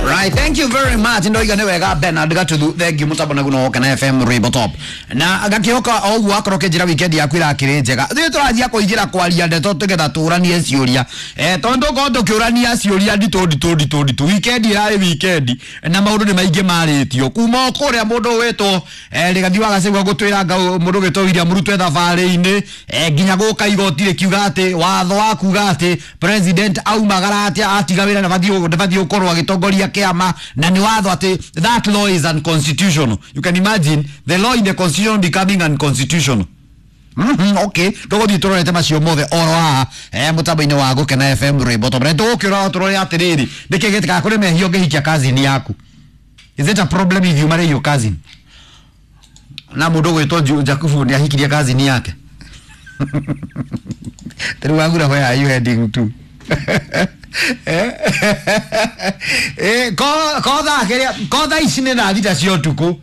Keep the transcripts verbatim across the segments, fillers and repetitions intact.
Right, thank you very much. Ndoiga nĩ wega Bernard Gatuthu. Thank you mutambo naguo no kana F M Rainbow Top. Na gakihoka o ũguo akorwo kĩnjĩra weekend yaku irakĩrĩ njega. Ithuĩ tũrathiĩ kũingĩra kwaria ndeto tũgetha tũranie ciũria. Eh tondũ ko tũkĩũrania ciũria nditũ nditũ nditũ nditũ. Weekend ĩrarĩ weekend na maũndũ nĩ maingĩ marĩtio. Kuma o kũrĩa mũndũ wĩtwo eh Rigathi wa Gachagua gũtwĩra nga mũndũ wĩtwo William Ruto e thabarĩ-inĩ eh nginya gũka igoti rĩkiuga atĩ watho wa kuga atĩ president aumagara atĩa atiga wĩra na ndabatiĩ gũkorwo agĩtongoria kĩama na nĩ watho atĩ that law is unconstitutional. You can imagine the law in the constitution becoming unconstitutional. Mm-hmm, okay tũgũthiĩ tũrorete macio mothe oro haha eh mũtambo-inĩ wa Gũkena F M Rainbow Top. Tũgũkĩũra tũrore atĩrĩrĩ nĩkĩ gĩtĩkaga kũrĩ mehia ũngĩhikia cousin yaku. Is it a problem if you marry your cousin? Na mũndũ ũgwĩtwo Jakubu nĩ ahikirie cousin yake. Rĩu wagura where are you heading to? Eh ko ko thaa kĩrĩa ko thaa ici nĩ thaa thita cia ũtukũ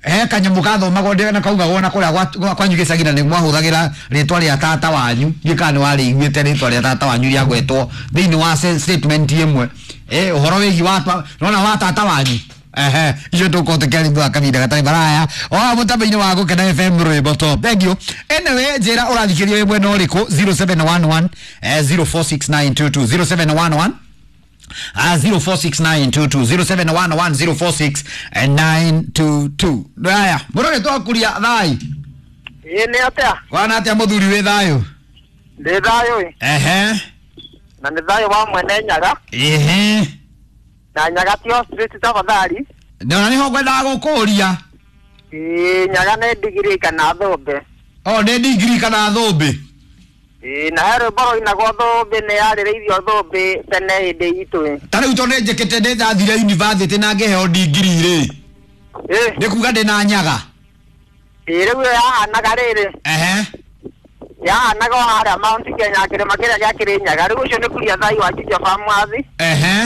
he kanyamũ kathomagwo na kaugagwo na kũrĩa kwanyu gĩcagi na nĩ mwahũthagĩra rĩtwa rĩa tata wanyu ndiũĩ kana nĩ warĩiguĩte rĩtwa rĩa tata wanyu rĩagwetwo thĩinĩ wa statement ĩmwe eh ũhoro wĩgiĩ wa nona wa tata wanyu ehe icio tũkorwo tũkĩaria kahinda gatarĩ maraya o mũtambo-inĩ wa Gũkena F M Rainbow Top. Thank you. Anyway njĩra ũrathikĩria wĩ mwena ũrĩkũ zero seven one one zero four six nine two two zero seven one one Ah, zero four six nine two two zero seven one one zero four six nine two two. Haya, mũrore twakuria thai. Ĩ nĩ atĩa? Wana atĩa mũthuri wĩ thayũ? Ndĩ thayũ ĩ. Ehe. Na nĩ thayũ wa mwene Nyaga. Ehe. Na Nyaga ti ostrich tafadhali. Na nĩho ngwendaga gũkũria. Ĩ Nyaga nĩ ndigiri kana thũmbĩ. Oh, nĩ ndigiri kana thũmbĩ. Ĩ na he rwĩmbo rũinagwo thũmbĩ nĩ yarĩrĩirio thũmbĩ tene hĩndĩ itũ ĩ. Ta rĩu tondũ nĩnjĩkĩte nĩ ndathire university na ngĩheo ndigiri rĩ. Ĩ. Nĩ kuga ndĩ na Nyaga. Ĩ rĩu yahanaga rĩrĩ. Ehe. Yahanaga o harĩa Mount Kenya kĩrĩma kĩrĩa gĩa Kĩrĩnyaga. Rĩu ũcio nĩ kuria thai wa Juja Famwathi. Ehe.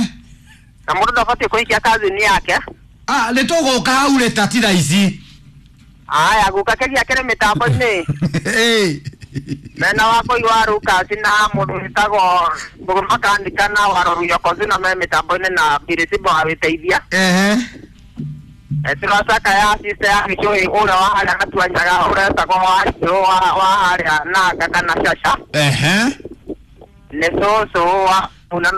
Na mũndũ ndabatiĩ kũhikia cousin yake. Ah, nĩ tũgũka hau rĩ ta ti thaa ici. Aya guka kĩgia kĩrĩ mĩtambo-inĩ. Ĩ. Mena wa koi wa Lucas na mũndũ wĩtagwo Mbũgũ Makanika na wa Rũruyo Kozi na me mĩtambo-inĩ na Birisibo agĩteithia. Ehe. Tũracaka ya sister ya Gĩcũhĩ ũrĩa wa harĩa Gatua Nyaga ũrĩa wetagwo Wanjirũ wa wa harĩa Nanga kana Caca. Ehe. Nĩ cũcũ wa una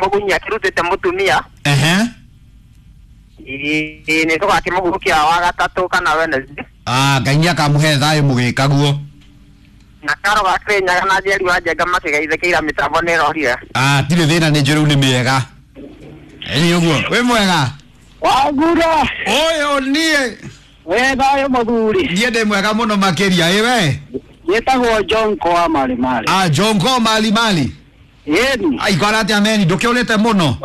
Mũgunyi akĩrutĩte mũtumia. Ehe. Ĩ nĩ tũgakĩmũhukia wa gatatũ kana Wednesday. Ah, Ngai nĩakamũhe thayũ mũgĩkaguo. Na karo ga Kĩrĩnyaga na Njeri wa Njenga makĩgeithĩkĩira mĩtambo nĩ ĩrorire. Ah, tirĩ thĩna nĩ njũĩ rĩu nĩ mĩega. Ĩ ũguo, wĩ mwega? Wagura. Ũyũ niĩ. Wĩ thayũ mũthuri. Niĩ ndĩ mwega mũno makĩria, ĩ we? Njĩtagwo John Koa Mali Mali. Ah, John Koa Mali Mali. Ĩni. Ai, kwara atĩa meni, ndũkĩũrĩte mũno?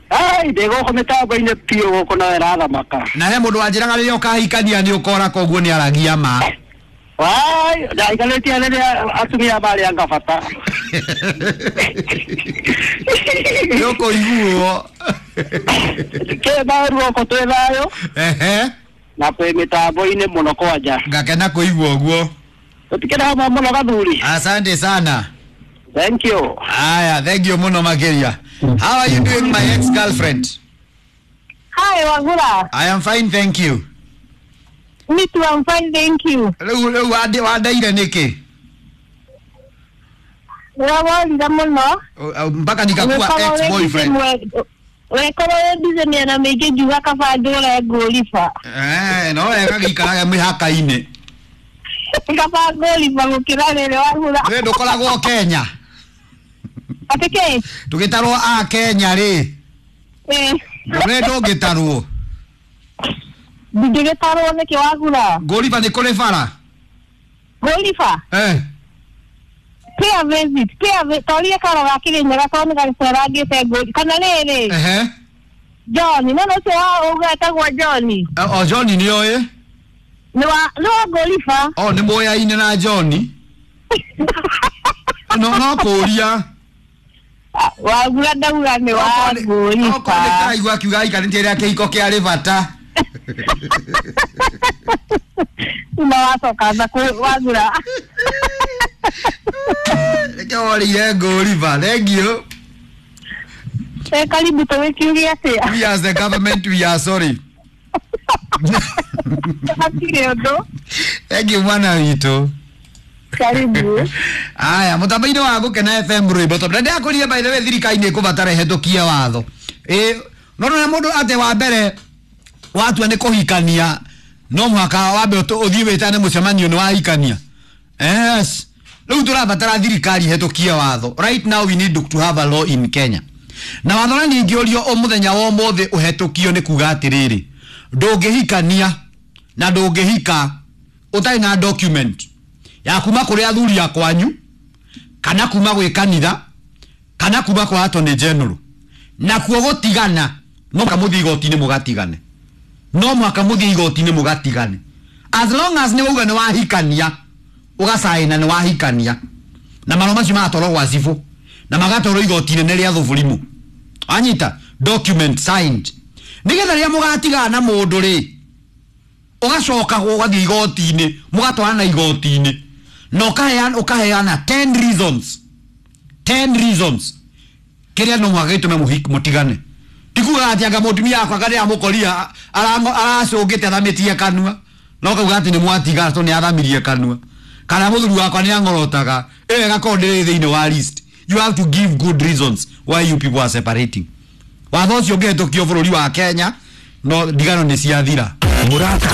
Ai, ndĩ gũkũ mĩtambo-inĩ biũ gũkũ na ĩrathamaka. Na he mũndũ wanjĩraga rĩrĩa ũkahikania nĩ ũkora koguo nĩ aragia ma. Wai, ndaikarĩtie rĩrĩa atumia marĩ anga bata. Nĩ ũkũiguo. Kĩ thayũ gũkũ twĩ thayũ. Ehe. Na twĩ mĩtambo-inĩ mũno kwanja. Ngakena kũigua ũguo. Tũtikĩrĩ hamwe mũno gathuri. Asante sana. Thank you. Aya, thank you mũno makĩria. How are you doing, my ex-girlfriend? Hi, Wagura. I am fine, thank you. Me too, I'm fine, thank you. Rĩu rĩu wandeire nĩkĩ? Ũraworire mũno. Mpaka nikakuwa ex-boyfriend. Wekorwo wĩ busy mĩena mĩingĩ ngiuga kaba ndũre ngũriba. Eh, no wega gĩikaraga mĩhaka-inĩ. Kaba ngũriba gũkĩra rĩrĩ wagura. We ndũkoragwo Kenya. Atĩ kĩ? Tũgĩtarwo a Kenya rĩ. Ĩ. We ndũngĩtarwo. Ndingĩgĩtarwo nĩkĩ wagura? Ngũriba nĩ kũrĩ bara. Ngũriba? Eh. Pay a visit, pay a visit. Toria karo ga Kĩrĩnyaga tondũ nĩ gacerangĩte ngũri. Kana rĩrĩ. Ehe. John, no no ũcio wa ũgetagwo John. O John nĩ oĩ? Nĩ wa nĩ wa ngũriba. O nĩ mũyaine na John. No no kũria. Wagura ndauga nĩ wa ngũriba. Okorwo nĩ karaigua akiuga aikarĩtie rĩa kĩhiko kĩarĩ bata. Uma wacoka wagura. Reke worĩire ngũriba, thank you. Eh, karibu tũgĩkiuge atĩa? We as the government, we are sorry. Hatirĩ ũndũ. Thank you mwana witũ. Karibu. Aya, mũtambo-inĩ wa Gũkena F M rwĩmbo tondũ ndĩrakũrire, by the way, thirikari nĩ ĩkũbatara ĩhetũkie watho. Ĩ no no mũndũ atĩ wa mbere watua nĩ kũhikania no mũhaka wambe ũthiĩ wĩtane mũcemanio nĩ wahikania. Yes. Rĩu tũrabatara thirikari ĩhetũkie watho. Right now we need to have a law in Kenya. Na watho na ningĩ ũrio o mũthenya wa ũmũthĩ ũhetũkio nĩ kuga atĩrĩrĩ, ndũngĩhikania na ndũngĩhika ũtarĩ na document ya kuma kũrĩ athuri a kwanyu kana kuma gwĩ kanitha kana kuma kwa Attorney General. Na kuo gũtigana no mũhaka mũthiĩ igoti-inĩ mũgatigane, no mũhaka mũthiĩ igoti-inĩ mũgatigane. As long as nĩ wauga nĩ wahikania, ũgacaina nĩ wahikania, na marũa macio magatwarwo gwa cibũ na magatwarwo igoti inene rĩa thũbũrimũ. Anyita document signed, nĩgetha rĩrĩa mũgatigana na mũndũ rĩ, ũgacoka ũgathiĩ igoti-inĩ, mũgatwarana igoti-inĩ na ũkaheana ũkaheana ten reasons, ten reasons kĩrĩa no mũhaka gĩtũme mũtigane. Ti kuga atĩ anga mũtumia wakwa karĩa amũkoria aracũngĩte athamĩtie kanua, no kauga atĩ nĩ mwatigana tondũ nĩ athamirie kanua, kana mũthuri wakwa nĩ ang'orotaga, ĩyo ĩgakorwo ndĩrĩ thĩinĩ wa list. You have to give good reasons why you people are separating. Watho ũcio ũngĩhetũkio bũrũri wa Kenya, no ndigano nĩ ciathira. Mũrata.